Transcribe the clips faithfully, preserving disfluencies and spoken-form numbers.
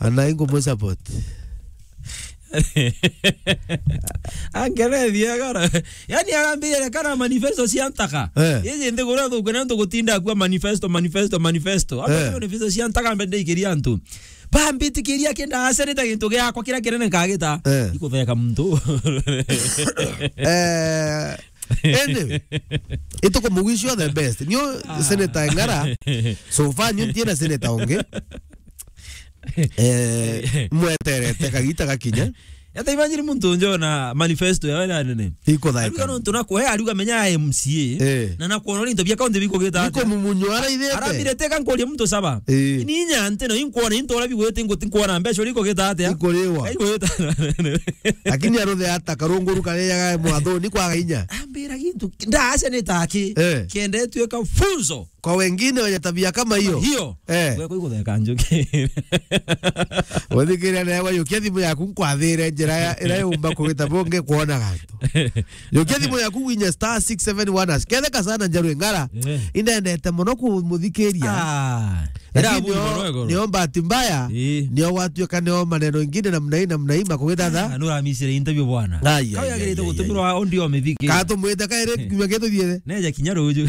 Ana ingo mo support. Angerethia gara. Yani arambire kana manifesto cia ntaka. Eh. Iji nthiguru thuku na ntu gutinda kwa manifesto, manifesto, manifesto. Aba Eh. manifesto cia ntaka mbe ndaikiria antu. Bambitikiria kinda aseneta gintu giakwa kiria kinene nkagita. Eh. Ikutheka muntu. Eh, anyway, itukumugwishio the best. Nio Ah. Senator Ng'ara. So far, nio ntiena senator ungi. Eh, mweterete kagita gakinya. Ata imagine muntu njona manifesto ya wena nene. Ikuthaika. Ariuga nontu na kwe, ariuga menya M C A. Eh. Na na kuona into bia county bikugita atia. Ikumumunyo ara ithete. Arambire teka nkuria muntu saba. Eh. Ni inya nte no inkuona into ora bigwete nguti nkuona mbeca uri kugita atia. Ikuriwa. Ikugita. Lakini aruthe ata karunguru karia ya mwathoni kwaga inya. Ambira gintu ndaceneta aki. Eh. Kiende tuika funzo. Kwa wengine wenye tabia kama hiyo. Hiyo. Eh. Gwe kuigutheka njuki. Uthikiria na wewe yukia thimu yaku nkwathire njira ya, ira yumba kugita bunge kuona gantu. Yukia thimu yaku winye star six seven one hash. Ketheka sana Njaru Ng'ara. Eh. Indendete muno kumuthikiria. Ah. Lakini Ira nio, buri mono igoro. Nio bahati mbaya, Ii. Nio gwatuika nio maneno ingine namna hii, namna hii, makugithatha. Ah, nuramisire interview bwana. Ai, ai, Kau ai, yagirite ai, ai, gutumirwa audio mithiki. Ka tumwite kairi kiumia gituthiire. Neja kinya ruju.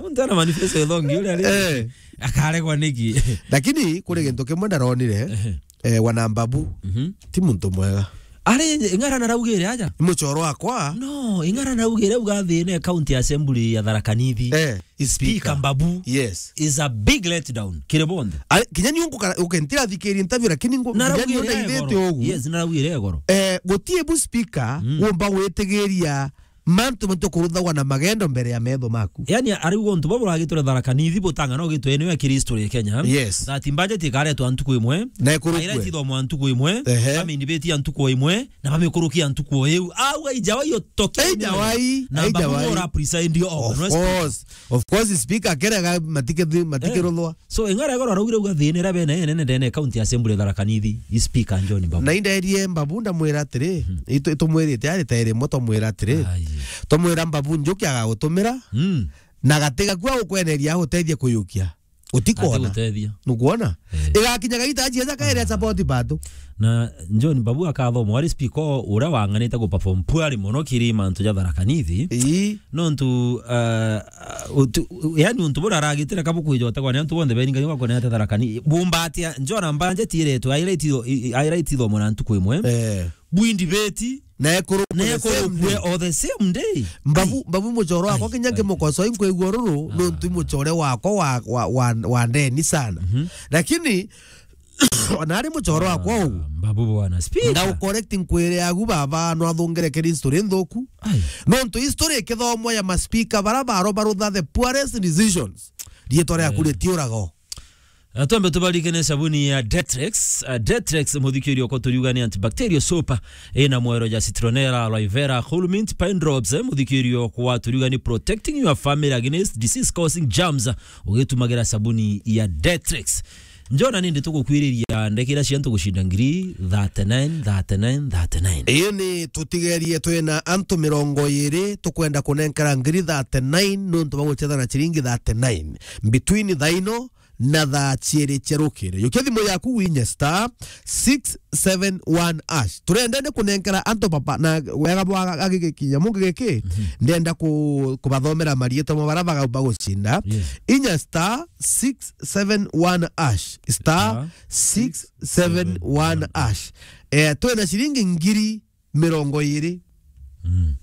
Muntu ana manifesto ithongi uria ari. Eh. Akaregwa niki? Lakini kuri gintu kimwe ndaronire, Ehe. Eh, wana Mbabu, Mhm. Ti muntu mwega. Ari Ng'ara naraugire aja? Ni muchoro wakwa. No, Ng'ara naraugire uga thine county assembly ya Tharaka Nithi. Eh, is Speaker speaker. Mbabu Yes. Is a big letdown. Kiri bonthe. Ari, kinya ni ungu ukentira thikiri interview, lakini ngu-, Naraugire kinya ni ndaithite igoro. Ugu. Yes, naraugire igoro. Eh, gutie bu speaker Mm. wumba gwitigiria mantu mantu kuruthagwa na magendo mbere ya metho maku. Yani, ariuga untu bau buragitwe Tharaka Nithi butanga no gitwe ni ya Kristo ya Kenya. Yes. That budget ikaretwa ntuku imwe. Na ikurukwe. Aira itithomwa ntuku imwe. Ehe. Family beti ya ntuku imwe. Na bamikurukia ntuku iu. Au aijawai utoke. Aijawai, Na aijawai. Bamura preside over. Of course. Of course, speaker kerega matike, matike Eh. Ruthwa. So, Ng'ara igoro araugire uga thine ra bene nene ndene county assembly Tharaka Nithi. Is speaker John Mbabu. Na inderie Mbabu ndamwira atiri, Hmm. itu-, itumwirite ari ta iri mo twamwira atiri. Ai. Twamwira Mbabu njuki agagutumira. Hmm. Na gatiga kwa gukweneria agutethie kuyukia. Utikona. Atigutethia. Nukwona? Eh. Igakinya gagita ajieza kaere Ah. support bado. Na John Mbabu akathomwa ari speaker uria wanganite ku perform poorly mono kiri mantu ja Tharaka Nithi. Ii. Nontu, uh, utu-, u-, yani untu buria aragitire kabu kwijota kwa ni antu bonthe beringa ni bakone ate Tharaka Nithi. Bumbatia, njona mbanje tiretwe, aira ititho-, i-, i-, aira itithomwa na ntuku imwe. Eh. Bwindi beti. Na ekurukwe Na the same ekurukwe day. O the same day. Mbabu, Ai. Mbabu muchoro wakwa Ai, kinya ai. Nkimukoso inkwigua ruru, Ah. Nontu muchore wakwa wa, wa, wa, wa ndeni sana. Mhm. Lakini, ona ari muchoro wakwa Ah, uu. Mbabu bwana. Speaker. Ndau correct nkwire agu baba, no athungire kiri history nthuku. Ai. Nontu history ikithomwa ya maspika bara baro barutha the poorest decisions. Rietwa riaku Eh. Ritiurago. Ah, twambe tubarikene sabuni ya Detrex. Ah, Detrex, muthikirio ko turiuga ni antibacterial soap, ina mwero ja citronella, aloe vera, cool mint, pine drops, eh, muthikirio kwa turiuga ni protecting your family against disease causing germs, ugitumagira sabuni ya Detrex. Njona nindi tugukwiriria ndekira cia antu gucinda ngiri thirty-nine, thirty-nine, thirty-nine. Iyo ni tutigerie twina antu mirongo iri tukwenda kunenkera ngiri thirty-nine nontu baguchethana ciringi thirty-nine. Between thaino na thaa ciiri cia rukiri. Yukia thimu yaku winye star six seven one hash. Turenda ni kunenkera antu papa na wega bwa gagiki kinya mungi giki. Mhm. Ndenda ku-, kubathomera marietwa ma bara baga-, bagucinda. Yes. Inya star six seven one hash. Star six seven one hash. Eh, twina ciringi ngiri mirongo iri. Mm.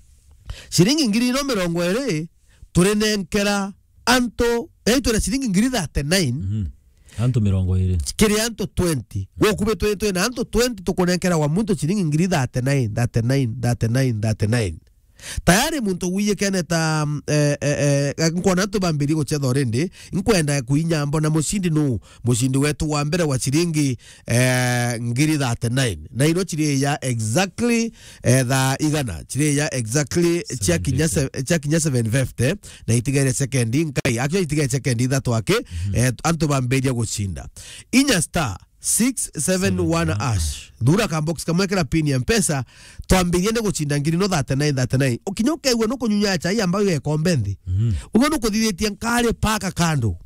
Ciringi ngiri ino mirongo iri, turinenkera antu, eh, twina ciringi ngiri thirty-nine. Mhm. Antu mirongo iri. Kiri antu twenty. Gukubitwe twina antu twenty, tukunenkera wa muntu ciringi ngiri thirty-nine, thirty-nine, thirty-nine, thirty-nine. Tayari muntu wiyikene ta, mm, eh, eh, eh, nkwona antu bambirie guchetha already, nkwenda kuinya mbona mucindi nu, mucindi wetu wa mbere wa ciringi eh, ngiri thirty-nine. Na ino ciri ya exactly, eh, thaa igana. Ciri ya exactly cia kinya seven fifty. Se-, cia kinya seven fifty, na itigaire sekendi nkai. Actually, itigaire sekendi ithatu aki, mhm, eh, antu bambiria gucinda. Inya star six seven one hash. Thura ka box kamwe kira pin ya Mpesa, twambirie ni gucinda ngiri no thirty-nine, thirty-nine. Ukinya ukaigua nukunyunya chai ambayo ya ikombe nthi. Mhm. Uguo nukuthithitie nkari paka kando.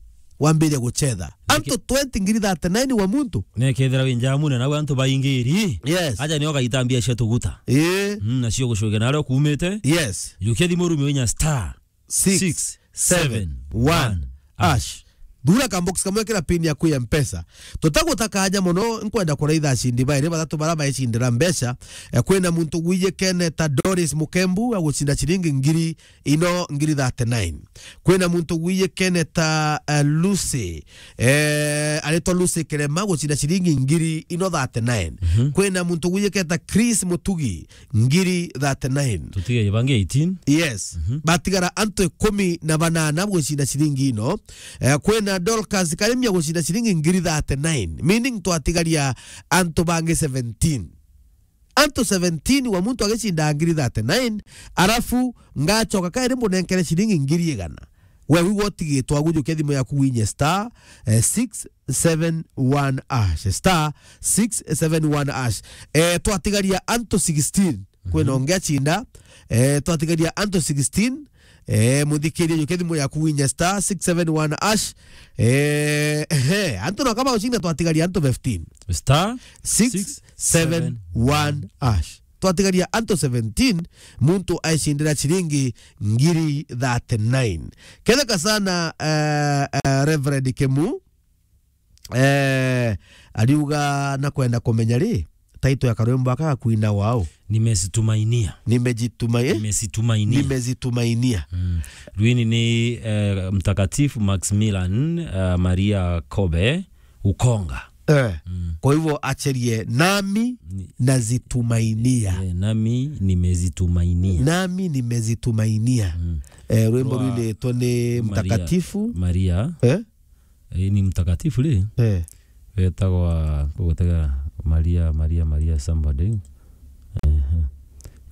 wambiria guchetha. Antu twenty, ngiri thirty-nine wa muntu. Nekethira wi njamune, nau antu baingiri. Yes. Aja nio gaita mbia cia tuguta. Ii. Mm, nacio gucuke nario kumite. Yes. Jukia thimu rume inya star six seven one hash. Thura ka box kamwe kira pin yaku ya Mpesa. Tutagutaka aja mono, nkwenda kuraitha acindi bairi bathatu bara baicindira mbeca. Eh, kwina muntu gwiyikene ta Doris Mukembu agucinda ciringi ngiri ino ngiri thirty-nine. Kwina muntu gwiyikene ta, eh, Lucy, eh, aritwa Lucy Kirema gucinda ciringi ngiri ino thirty-nine. Mhm. Kwina muntu gwiyikene ta Chris Mutugi ngiri thirty-nine. Tutige bangi eighteen. Yes. Mhm. Batigara antu ikumi na banana gucinda ciringi ino. Eh, kwina Dorcas Karemia gucinda ciringi ngiri thirty-nine, meaning twatigaria antu bangi seventeen. Antu seventeen wa muntu agicinda ngiri thirty-nine, arafu ngacoka kairi mbunenkere ciringi ngiri igana. We wigua utigitwe, agujukia thimu yaku winye star, eh, six seven one hash, star six seven one hash. Eh, twatigaria antu sixteen. Kwina ungi acinda, eh, twatigaria antu sixteen. Eh, muthikiria, jukia thimu yaku winye star six seven one hash. Eh, ehe, antu no kama ucinda twatigaria antu fifteen. Star six seven one hash. Twatigaria antu seventeen, muntu aicindira ciringi ngiri thirty-nine. Ketheka sana, eh, eh, Reverend Kemu, eh, ariuga na kwenda kumenya ri, title ya karwimbo aka gakwina wao. Nimezitumainia. Nimejituma-, eh? Nimezitumainia. Nimezitumainia. Mm. Rwini ni, eh, Mtakatifu Maximilian, eh, Maria Kobe Ukonga. Eh. Mm. Kwa hivyo acherie nami ni- nazitumainia. Eh, nami nimezitumainia. Nami nimezitumainia. Mm. Eh, rwimbo rwa rwinitwo ni Maria, Mtakatifu. Maria. Eh? Eh, ni Mtakatifu ri? Eh. Wetagwa, ngugutega Maria, Maria, Maria somebody. Ehe.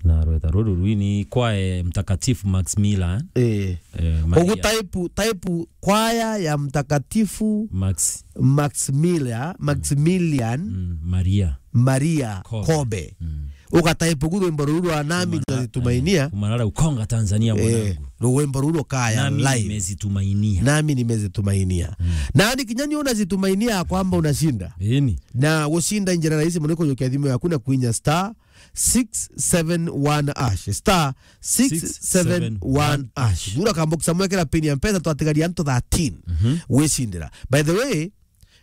Na rweta ruru rwini kwae Mtakatifu Maximilian. Eh. Eh, Maria. Ugu type, type kwaya ya Mtakatifu Max- Maximilia-, Maximilian Mm, Maria. Maria Kobe. Kobe. Mm. Ugataipu gu rwimbo ruru rwa Nami Kumana-, Nazitumainia. Eh, kumana rau Konga Tanzania, eh, mwanangu. Rwimbo ruru rukaya Nami live. Nimezitumainia. Nami nimezitumainia. Mm. Nani kinya ni unazitumainia ya kwamba unashinda. Ĩni. Na gushinda njira rahisi muno kujukia thimu yaku na kwinya star six seven one hash. Star six seven one hash. Thura kambox amwekera pin ya Mpesa, twatigaria antu thirteen. Mhm. Wicindira. By the way,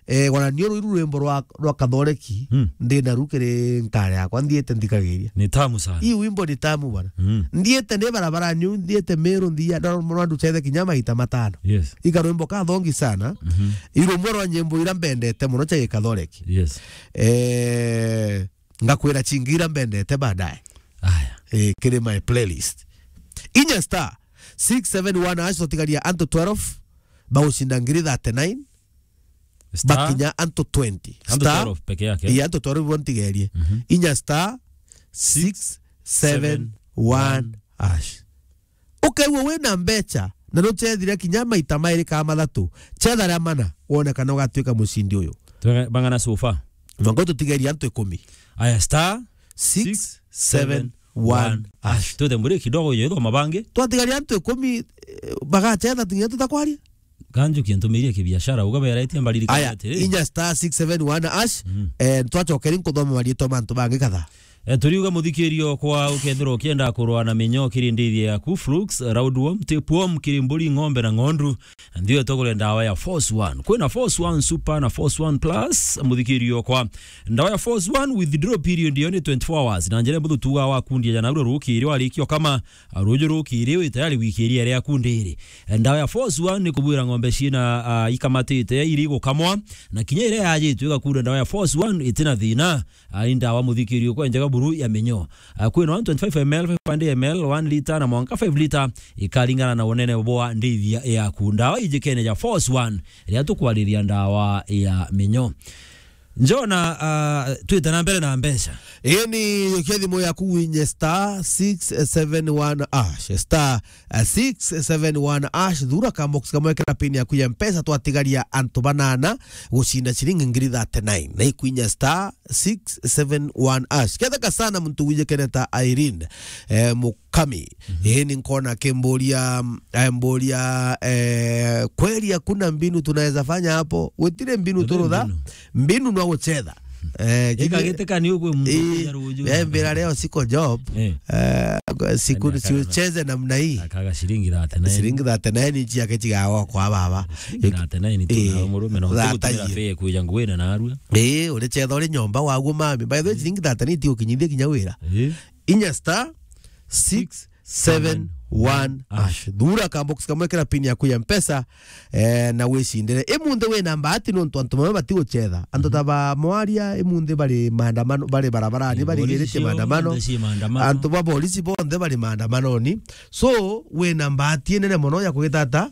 eh, wana nio rwiru rwimbo rwa, rwa Kathoreki, hmm, ndi na rukiri nkare yakwa, nthiite nthikagiria. Ni tamu sana. Hii wimbo ni tamu bwana. Hmm. Nthiite ni barabara nyu, nthiite Meru, nthia, ndo mwana nducethe kinya maita matano. Yes. Ika rwimbo kathongi sana. Mhm. Irumwe rwa nyimbo ira mbendete muno cha Kathoreki. Yes. Eh, ngakwira chingi ira mbendete baadaye. Aya. Eh, kiri my playlist. Inya star six seven one hash, twatigaria antu twelve, bagucinda ngiri thirty-nine. Star. Bakinya antu twenty. Antu star twelve peke yake. Ii, antu twelve bo ntigerie. Mhm. Inya star six seven one hash. Ukeigua wina mbecha na nuchethire kinya maita mairi kana mathatu, chetha ria mana, wone kana ugatuika mucindi uyu. Twega-, bang'ana so far? Mwango tutigerie antu ikumi. Aya, star six seven one hash. Twite mburi kidogo yethwa mabangi. Twatigaria antu ikumi, eh, bagachetha tunya tutakwaria. Kanjukia ntumirie kibiashara, uga beretie mbaririkana. Aya, atiri, inya star six seven one hash, mm, eh, twachokeri nkuthoma marietwa mantu bangi kadhaa. Eh, turiuga muthikirio kwa ukethirwa ukienda kurwa na minyo kiri ndithia yaku, flukes, roundworm, tapeworm, kiri mburi, ng'ombe na ng'ondu, ndio tugure ndawa ya Force One. Kwina Force One Super na Force One Plus, muthikirio kwa ndawa ya Force One, withdrawal period yo ni twenty-four hours. Na njira mbuthu tuga wakundia jana uru rukiri warikio kama ruju rukiri wi tayari wikiria riaku ndiri. Ndawa ya Force One ni kubwira ng'ombe ciina, ah, ikamatite iri gukamwa, na kinya iria yajitwe igakunda ndawa ya Force One itina thina. Ah, ni ndawa muthikirio kwa njega buru ya minyo. Ah, kwina one twenty-five M L, five hundred M L, one litre na mwanka five litre, ikaringana na unene bwa ndithia yaku. Ndawa ijikene ja Force One, iria tukwariria ndawa ya minyo. Njona, ah, twite na mbere na mbeca. Ii ni yukia thimu yaku winye star six seven one hash, star six seven one hash, thura ka box kamwe kena pin yaku ya Mpesa, twatigaria antu banana gucinda ciringi ngiri thirty-nine. Na ikwinya star six seven one hash. Ketheka sana muntu wijikene ta Irene, eh, mu- Pami. Mhm. Ii, ni nkona akimburia, amburia, eh, kweli hakuna mbinu tunaweza fanya hapo? Gutire mbinu. Gutire turutha, mbinu. Mbinu no guchetha. Eh, ika giteka ni ugwe muntu. Ii, kuja ruju. Eh, mbira leo siko job. Eh. Eh, siku. Yaani akaga, siucheze namna hii. Akaga shilingi thirty-nine. Shilingi thirty-nine inchi yake chigawa kwa baba. Shilingi thirty-nine tu. Ii, na murume no thirty-nine. Utugutumira fare kuja nguina na arua. Ii, uri chetha uri nyomba waguo mami. By the way, shilingi thirty-nine ti ukinyithie kinya wira. Ii. Inya star six seven one hash. Thura kambox kamwe kira pin yaku ya Mpesa, eh, na wicindire. Imunthi wina mbati nontu antu bamwe batiguchetha. Antu ta ba Mwaria, imunthi bari maandamano, bari barabarani, eh, barigiritie maandamano. Antu ba polisi bonthe bari maandamanoni. So, wina mbati inene mono ya kugitata,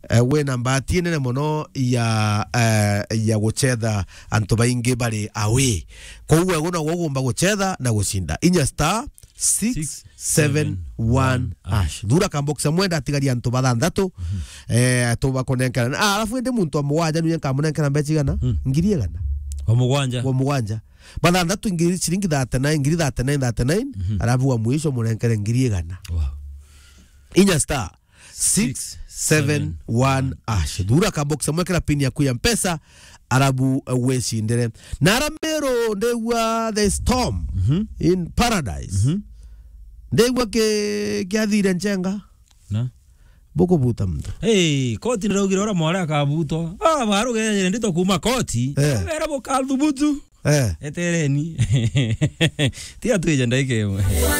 eh, wina mbati inene mono ya, eh, ya guchetha antu baingi bari away. Koguo wego no gugumba guchetha na gucinda. Inya star six seven one hash. Thura kambox amwe ndatigaria antu bathanthatu. Mhm. Eh, tubakunenkera. Ah, alafu indi muntu wa mugwanja niwe nkamunenkera mbeca igana? Mm. Ngiri igana. Wa mugwanja? Wa mugwanja. Bathanthatu ngiri, shilingi thirty-nine, ngiri thirty-nine, thirty-nine, mhm, alafu wa mwisho munenkere ngiri igana. Wow. Inya star six seven one hash. Thura kabox amwe kira pin yaku ya Mpesa, arabu, eh, wecindire. Na ara Meru ndigua the storm, mhm, in paradise. Mhm. Ndigua ki-, kiathire nchenga. Na? Bukubuta muntu. Hey, koti niraugire ura mware akabutwa. Ah, barugere ndito kuma koti. Eh. Wera bukathubutu. Eh. Etereni. Tiga twije ndaika imwe.